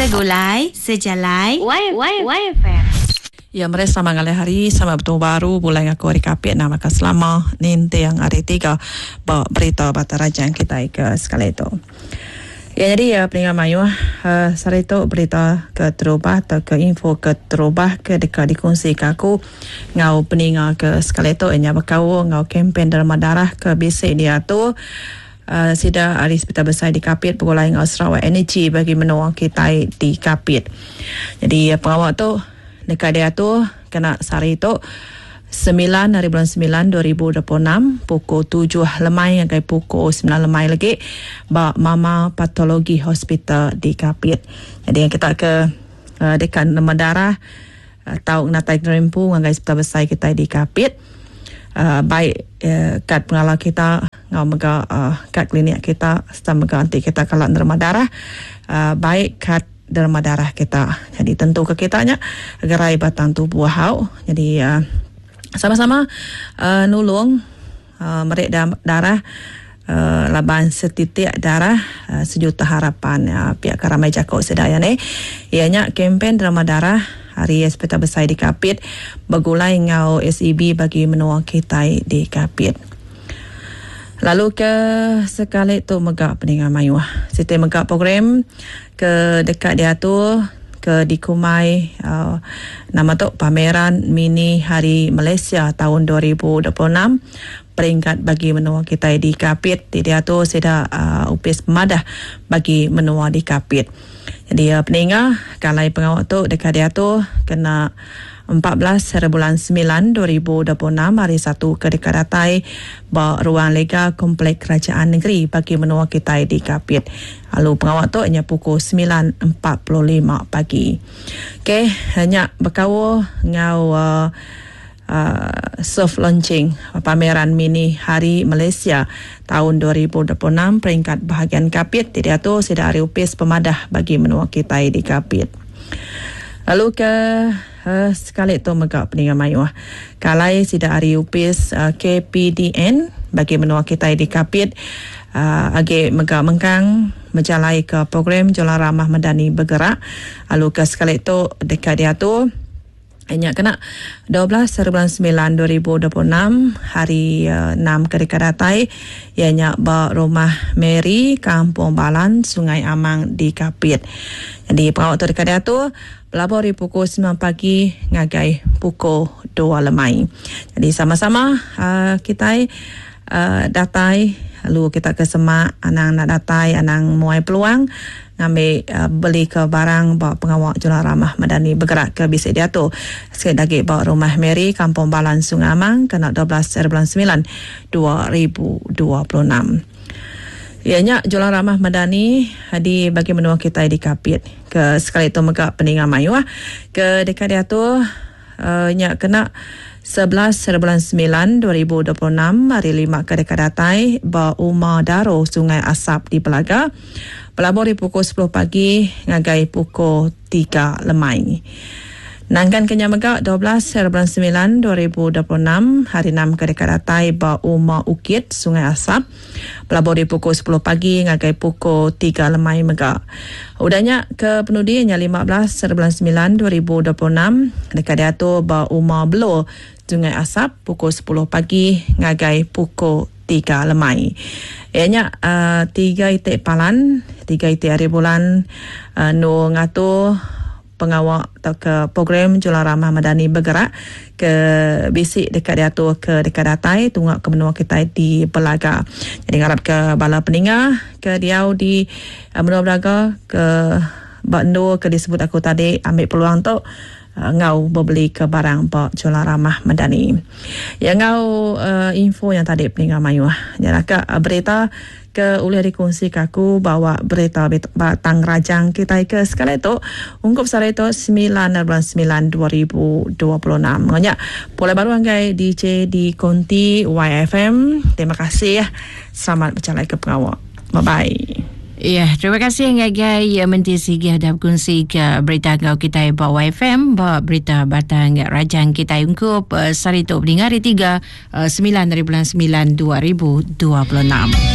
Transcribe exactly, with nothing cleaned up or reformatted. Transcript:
Segulai, sejalai, Y Y Y F M. Ya, mereka sama ngalih hari, sama betul baru, bulan aku hari Kapit, nama ke selama, nintiang hari tiga, bawa berita Batang Rajang kita ke sekali itu. Ya, jadi ya, peningat mayu, uh, sehari tu berita ke terubah atau ke info ke terubah ke dekat dikongsi ke aku ngau peningat ke sekali tu ianya berkau ngau kempen derma darah ke bisik dia tu. Uh, sida hari Hospital Besar di Kapit bergulai ngau Sarawak Energy bagi menua kita di Kapit. Jadi ya, pengawal tu dekat dia tu kena sehari tu sembilan hari bulan sembilan dua ribu dua puluh enam pukul tujuh lemai sampai pukul sembilan lemai lagi ba Mama Patologi Hospital di Kapit. Jadi yang kita ke, uh, dekat nama darah, uh, tau natai kerimpu ngagai hospital besar kita di Kapit. Uh, baik, uh, kad pengalar kita ngau mega, uh, kad klinik kita serta mega nanti kita kalau nerima darah, uh, baik kad derma darah kita. Jadi tentu ke kitanya gerai batang tubuh hau. Jadi, uh, sama-sama, uh, nulung, uh, merik da-, darah, uh, laban setitik darah, uh, sejuta harapan, uh, pihak Karamai Jakok Sedaya ni. Ianya kempen derma darah hari Hospital Besar di Kapit bergulai ngau S E B bagi menua kita di Kapit. Lalu ke sekali tu megak peningan mayuh. Siti megak program ke dekat dia tu ke di Kumai, uh, nama tu pameran mini Hari Malaysia tahun dua ribu dua puluh enam peringkat bagi menua kita di Kapit. Di dia tu sida, uh, upis pemadah bagi menua di Kapit. Jadi, uh, peninga kalai pengawak tu dekat dia tu kena empat belas hari bulan sembilan dua ribu dua puluh enam hari satu ke dekat datai ba ruang lega Komplek Kerajaan Negeri bagi menua kita di Kapit. Lalu pengawak tu hanya pukul sembilan empat puluh lima pagi. Okey, hanya berkau ngau, uh, uh, soft launching pameran mini Hari Malaysia tahun dua ribu dua puluh enam peringkat bahagian Kapit. Tidak tu sida hari upis pemadah bagi menua kita di Kapit. Lalu ke, uh, sekali tu megak peningan mayuh. Kalai sida hari upis, uh, K P D N bagi menua kita di Kapit, uh, agi megak mengkang menjalai ke program Jualan Ramah Madani Bergerak. Lalu ke sekali tu dekat dia tu hanya kena dua belas hari bulan sembilan dua ribu dua puluh enam hari, uh, enam ke dekat datai ianya ba Rumah Mary Kampung Balan Sungai Amang di Kapit. Jadi pengawak tu dekat dia tu pelabur di pukul sembilan pagi ngagai pukul dua lemai. Jadi sama-sama, uh, kita, uh, datai lalu kita ke semak anang nak datai anang muai peluang ngambil, uh, beli ke barang bawa pengawak Jualan Ramah Madani Bergerak ke bisik dia tu. Sekali lagi bawa Rumah Mary Kampung Balan Sungai Amang kena dua belas hari bulan sembilan dua ribu dua puluh enam. Ianya Jualan Ramah Madani di bagi menua kita di Kapit. Ke sekali tu megak peningan mayuah ke dekat dia tu, uh, nya kena sebelas hari bulan sembilan dua ribu dua puluh enam hari lima ke dekat datai ba Uma Daro Sungai Asap di Belaga. Pelabur di pukul sepuluh pagi ngagai pukul tiga lemai. Nangkan kenya megak dua belas hari bulan sembilan dua ribu dua puluh enam hari enam ke dekat datai ba Uma Ukit Sungai Asap. Pelabur di pukul sepuluh pagi ngagai pukul tiga lemai megak. Udahnya ke penudinya lima belas hari bulan sembilan dua ribu dua puluh enam dekat dia tu ba Uma Belo Sungai Asap pukul sepuluh pagi ngagai pukul tiga lemai. Ianya, uh, tiga itik palan, tiga itik hari bulan, uh, nu ngatu pengawak atau ke program Jualan Ramah Madani Bergerak ke bisik dekat dia tu ke dekat datai tungak ke menua kita di Belaga. Jadi ngarap ke bala peninga ke diau di, uh, menua Belaga ke Bandung ke disebut aku tadi ambil peluang tu, uh, ngau berbeli ke barang bak Jualan Ramah Madani. Ya ngau, uh, info yang tadi peninga mayuh. Ya ke, uh, berita ke oleh dikongsi ke aku bawa berita batang rajang kita ke sekali tu ungkup sare tu sembilan bulan sembilan dua ribu dua puluh enam. Banyak pola baru anggai D J di Konti Y F M. Terima kasih ya. Selamat berjalan ke pengawak. Bye bye. Ya, terima kasih ngagai Menteri Sigi dah berkongsi ke berita kau kita bawa Y F M, bawa berita batang rajang kita ungkup uh, sari tu mendengar hari tiga, uh, sembilan dari bulan sembilan dua ribu dua puluh enam.